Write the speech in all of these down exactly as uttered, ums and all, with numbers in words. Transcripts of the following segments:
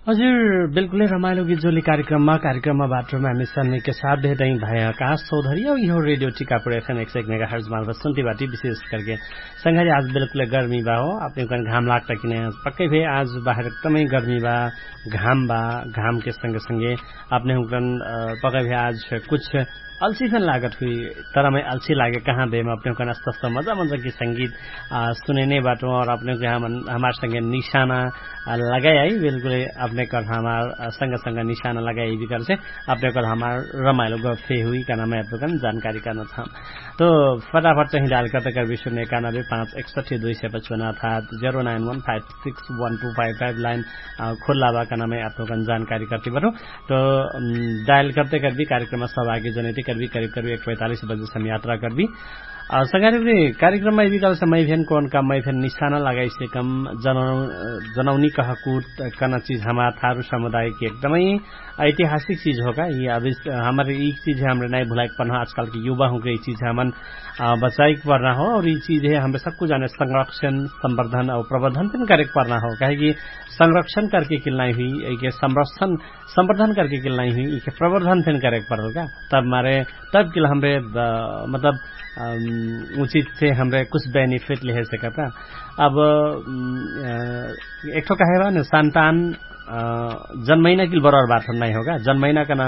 हजुर, बिल्कुलै रमाइलो गीत जोली कार्यक्रममा कार्यक्रममा बाटोमा हामी सन्निके साथ भेटै भए आकाश चौधरी औ इहो रेडियो टिकापुर एफएम एक सय एक मेगा हर्ज मार्फत सुन्ती बाटी विशेष करके संघारी आज बिल्कुलै गर्मी बा हो। अपने हुकन घाम लाग्ता कि नै? पक्कै भए आज बाहेर एकदमै गर्मी बा, घाम बा। घामके संगे संगे अपने हुकन पक्कै भए आज कुछ अल्छी फेन लागत हुई। तरमै अल्छी लागे कहाँ देम अपने हुकन अस्तस्त मजा मजा कि संगीत सुने नै बाटो और अपने हुकन हमार संगे निशाना लगाइ आई। बिल्कुलै अपने कर हमार संग संग निशाना लगाइ आई बिकर से अपने कर हमार रमाइलो गफे हुई कहना मै अपने हुकन जानकारी करना छाम। तो फटाफट चाहिँ डायल करते कर विश्व ने एकानबे पाँच एकसठी दुई सय पचपन्न अर्थात zero nine one five six one two five five line खुल्ला बा कहना मै अपने हुकन जानकारी करती बाटो। तो डायल करते करबी कार्यक्रममा सहभागी जनैती करबी करिब करिब एक पैतालिस बजे सम यात्रा करबी। संगारी कार्यक्रममा यदि कहल समय फेन कौन का मै फेन निशाना लगाइसे कम जनौनी कहकूट कना चिज हमार थारू समुदायके एकदमै ऐतिहासिक चिज हो का। यि अभी हमर यि चिज है हमरे नाइ भुलाइक पर्ना हो आजकालके युवा हुँके यि चिज है हमन बचाइक पर्ना हो। और यि चिज है हमरे सक्कु जाने संरक्षण संवर्धन और प्रवर्धन फेन करेक पर्ना हो काहेकि संरक्षण करके किल नाइ हुई। संरक्षण संवर्धन करके किल नाइ हुई इके प्रवर्धन फेन करेक परल का। तब मारे तब किल हमरे मतलब उचित से हमरे कुछ बेनिफिट लेहे सकता। अब एकठो कहे बा न संतान जन्मैना किल बरर बात नाइ हो का। जन्मैना कना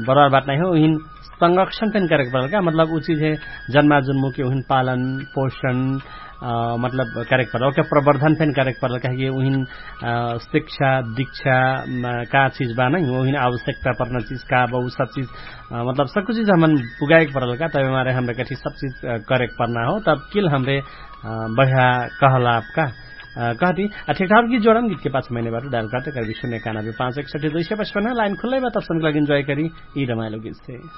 बरर बात नाइ हो उहिन संरक्षण फेन करेक परल का। मतलब उ चिज है जन्मा जुन्मु के उहिन पालन पोषण मतलब करेक परल ओके प्रवर्धन फेन करेक परल काहेकि उहिन शिक्षा दीक्षा का चिज बा नै उहिन आवश्यकता पर्ना चिज का बा उ सब चिज मतलब सक्कु चिज हमन पुगाएक परल का। तबे मारे हमरे कठी सब चिज करेक पर्ना हो तब किल हमरे बढ़िया कहलाप का। कहती ठेकठाक गीत जोडम गीत के पाछ मैने बाटो डायल करते करबी सुने काना भी पाँच एकसठी दुई सय पचपन्न लाइन खुल्लै बा तब समझ लगिन जॉय करी। यी रमाइलो गीत से